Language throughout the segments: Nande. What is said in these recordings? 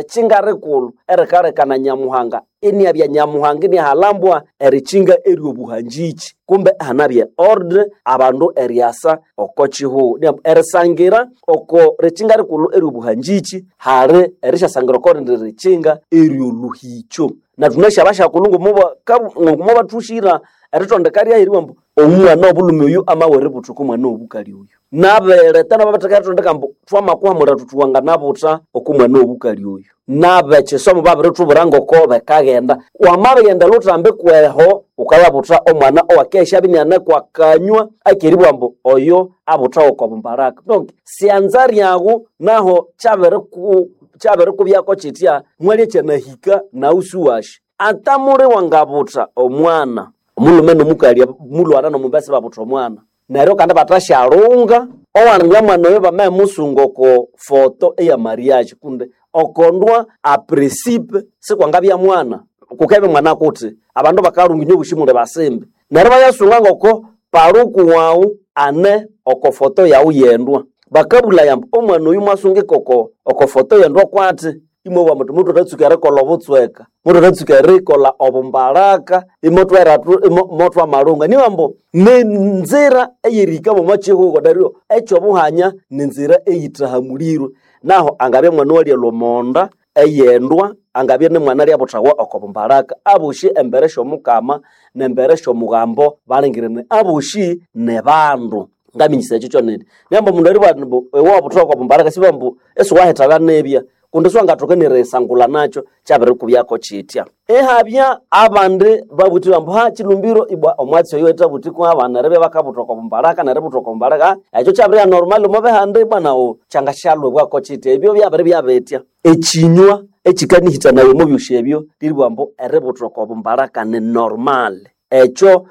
Erikinga rikulu erikalekana Nyamuhanga iniabya Nyamuhanga iniahalambwa erikinga eryobuhangiki. Kumbe ihanabya ordre abandu eriasa oko kihugho. Erisangira oko rikinga rikulu eryobuhangiki hali erisyasangira oko rindi rikinga eryolhuhikyo. Na thunasi abasyakulhu ngomubathushira eritondeka ryaheriwa ambu omwana wobulhume oyu amabya eributha omwana wobukali oyu. Nabereta nabo babatheka eritondeka ambu thwamakuhamulha thuthi wanganabutha oko mwana wobukali oyu. Nabekisomo babirithubwira ngoko bikaghenda. Wamabighenda lhutambi kweho wukayabutha omwana owakesya iniane kwakanywa akeribugha ambu oyo abuthawa oko bumbaraka. Donc syanza ryaghu naho kyabirikubyako kyitya mwalya kyanahika naghu siwasi. Ata muli wangabutha omwana, omulhume nomukali mulhwana nomumbesa ibabutha omwana, neryo kandi ibathasyalhunga owalinga mwana oyo bamabimusunga oko foto eya mariage kundi okondwa apresipe sikwangabya mwana, kukabya mwana kuti abandu bakalhunga inywe bosi muli basimbi. Neryo ibayasunga ngoko paluku waghu ane oko foto yaghu yendwa. Bakabulaya ambu omwana oyu mwasungika oko foto yendwa kwati? Imwabugha muthi muthwathatsuka erikolha obutsweka, muthwathatsuka erikolha obumbalaka, imothwamalhunga. Nibugha ambu ninzira eyerihika mwomo kihugho neryo ekyobuhanya ninzira eyithahamulirwe. Naho angabya mwana owalya omonda eyendwa, angabya nimwana alyabuthawa oko bumbalaka, abosi embere syomukama nembere syomughambo balingirine abosi nibandu. Ngaminyisa ekyo kyonene. Niyamba omundu eribugha ambu iwe wabuthawa oko bumbalaka sibugha ambu isiwahithalha nibya kundi siwangathoka nerisangulha nakyo kyabirikubyako kyitya. Ihabya abandi babuthire ambu ha kyilumbiro ibwa omwatsi oyo wethabuthi kwabana eribya bakabutha oko bumbalaka neributha oko bumbalaka ekyo kyabiribya normal omo bihanda ibwa naghu kyangasyalhwibwako kyitya. Ebyo byabiribya bitya. Ekinywa ekikanihithanaya omo byosi ebyo lyeribugha ambu eributha oko bumbalaka ni normal. Ekyo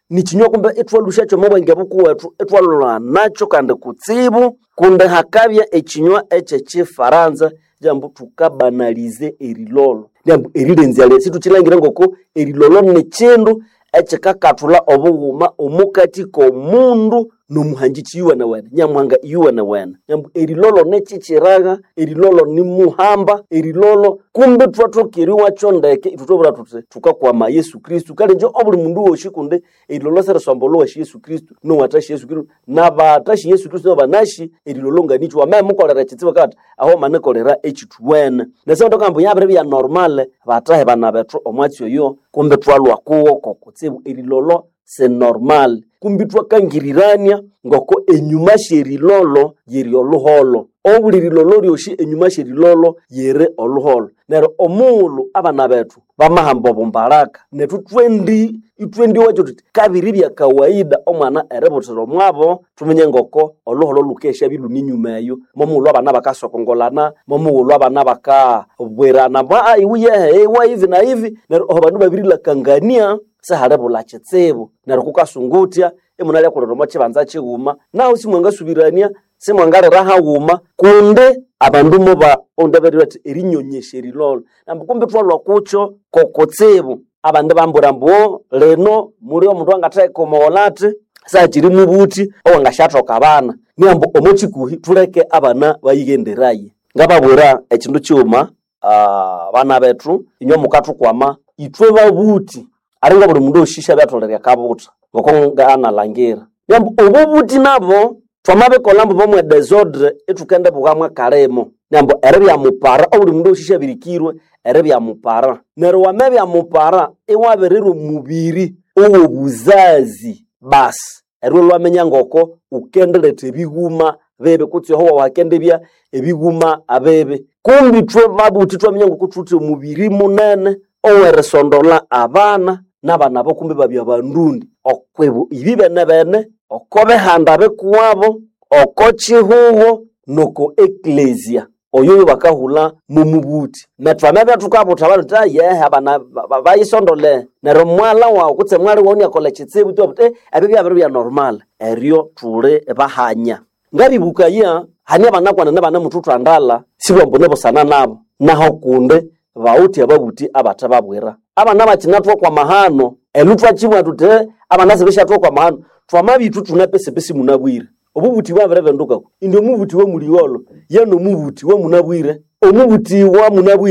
nikinywa kumbe ithwalhusyakyo omo bwenge bukuwethu ithwalhulha nakyo kandi kutsibu kundi hakabya ekinywa ekyekifaransa lyambu thukabanalize erilolho. Lyambu erilenzya sithukyilhangira ngoko erilolho nikyindu ekyikakathulha obughuma omukati komundu nomuhangiki iyuwenewene, Nyamuhanga iyuwenewene. Lyambu erilolho nikyikyiraga, erilolho nimuhamba, erilolho kumbe ithwathoka eriwakyo ndeke ithwe thwabugha thuthi thukakwama Yesu Kristo. Kale ingye obuli mundu wosi kundi erilolho sirisombolha owasi Yesu Kristo nowathasi Yesu Kristo nabathasi Yesu Kristo nabanasi erilolho nganikyi. Wamabimukolera ekyitsibu akabugha athi aho wamanikolera ekyithuwene. Nesyamathoka ambu yabiribya normal bathahi bana bethu omwatsi oyo kumbe ithwalhwa kuwo kokutsibu erilolho si normal. Kumbe ithwakangirirania ngoko enyuma syerilolho yiri olhuholho. Obuli rilolho lyosi enyuma syerilolho yiri olhuholho. Neryo omughulhu abana bethu bamahamba obumbalaka nethu ithwendiwakyo thuthi kabiribya kawaida omwana eributhira omwabo thuminye ngoko olhuholho lhukesya ilhune enyuma eyo. Momughulhu abana bakasokongolana, momughulhu abana bakabwirana ambu iwe yehe iwe hivi na hivi neryo aho abandu babirilakangania sihalibulha kyitsibu. Neryo kukasunga imunalyakulira omo kyibanza kyighuma nahu simwangasubirania, simwangalira haghuma kundi abandu moba oundi aberire athi erinyonyesya erilolho. Ambu kumbe ithwalhwa kukyo kokutsibu. Abandi ibambwira ambu lino muli omundu owangatheka omugholho athi sakyiri mubuthi owangasyathoka abana. Niyambu omo kyikuhi thuleke abana bayighenderaye. Ngababwira ekyindu kyighuma bana bethu inywe mukathukwama ithwe babuthi alinga obuli mundu osi syabyatholirirya akabutha ngoko nganalhangira. Niyambu obubuthi nabo thwamabikolha ambu bomwe desordre ithukendibughamu akalimo. Niyambu eribya mupara obuli mundu osi syabirikirwe eribya mupara. Neryo wamabya mupara iwabirirwa omubiri owobuzazi basi eryo lwaminya ngoko wukendiletha ebighuma bibi kutse oho wakendibya ebighuma bibi. Kumbi ithwe babuthi ithwaminya ngoko thuwithe omubiri munene owerisondolha abana nabana abo kumbi ibabya bandundi okwibu ibibenebene, oko bihanda bikuwabo, oko kihugho noko eklezia. Oyo yobakahulha momubuthi. Nethu thwamabya thukabutha abandu thuthi yehe abana bayisondole neryo mwalha waghu kutse mwali waghu iniakolha ekyitsibu ithwabugha thuthi ebyo byabiribya normal. Eryo thuli bahanya. Ngabibukaya hane abanakwanene ibanemuthuthandalha sibugha ambu nibusana nabo naho kundi bawithe ababuthi abathababwira. Abana bakyinathwa kwamahano elu thwakyibugha thuthi abana sibisyathwa kwamahano thwamabya ithwe ithune pesipesi munabwire. Obubuthi bwabiribinduka indi omubuthi wamuligholho ye nomubuthi wamunabwire. Omubutiwa munabwire.